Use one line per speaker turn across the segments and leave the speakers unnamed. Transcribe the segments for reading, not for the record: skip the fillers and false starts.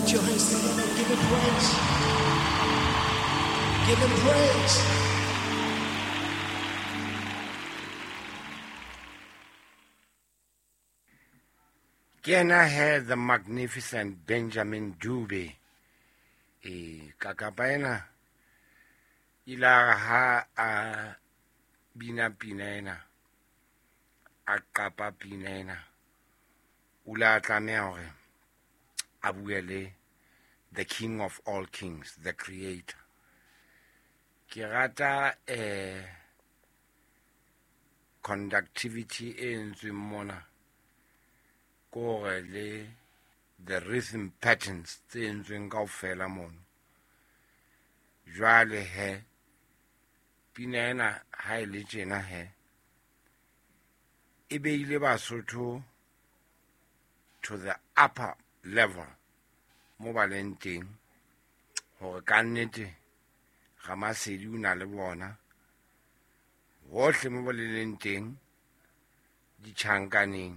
Put your hands together and give him praise. Give him praise.
Ke yena he the magnificent Benjamin Dube. E kakapa ena ile a re ha a bina pina ena, a qapa pina ena, o ile a tlameha hore a bue le the king of all kings, the creator. Ke rata conductivity e entsweng mona, kore le the rhythm patterns tse entsweng kaofela mono. Jwale he pina ena ha e le tjena he e beile Basotho to the upper level mo ba leng teng, hore ka nnete Ramasedi o na le bona hohle mo ba leng teng, ditjhankaneng,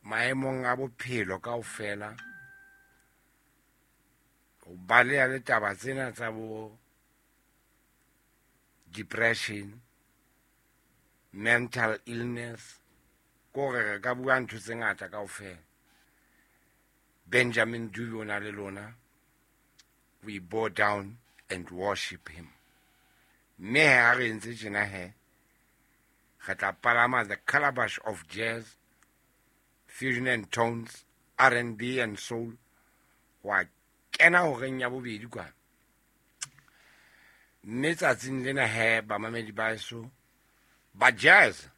maemong a bophelo kaofela, ho baleha le taba tsena tsa bo depression, mental illness, kore re ka bua ntho tse ngata kaofela. Benjamin Dube o na le lona. We bow down and worship him. Mme ha re entse tjena he, re tla palama the calabash of jazz, fusion and tones, R&B and soul, wa kena horeng ya bobedi kwana. Mme tsatsing lena he, bamamedi ba heso ba jazz,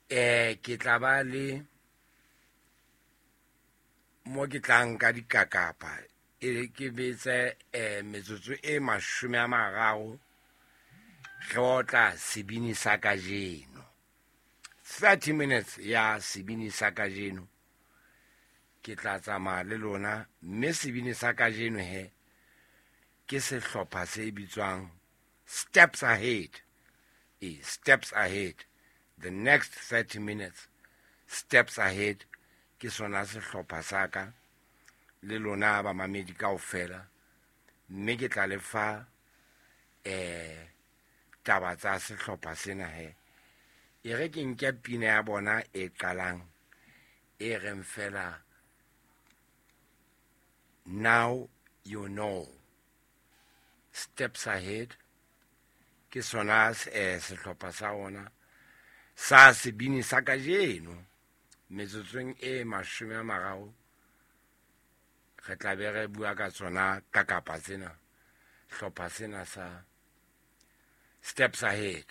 ke tla ba le mo ke tla nka dikakapa, e ke betse metsotso e 30 re otla sebini sa kajeno. 30 minutes ya sebini sa kajeno ke tla tsamaya le lona, mme sebini sa kajeno he ke sehlopha se bitswang Steps Ahead. Steps Ahead, the next 30 minutes, Steps Ahead ke sona sehlopha sa ka le lona ba mamedi kaofela, mme ke tla le fa taba tsa sehlopha sena he. E re ke nke pina ya bona e qalang e reng fela Now You Know. Steps Ahead ke sona sehlopha sa ona sa sebini sa kajeno. Metsotsong e 30 re tla be re bua ka tsona ka kapa tsena, hlopha sena sa Steps Ahead.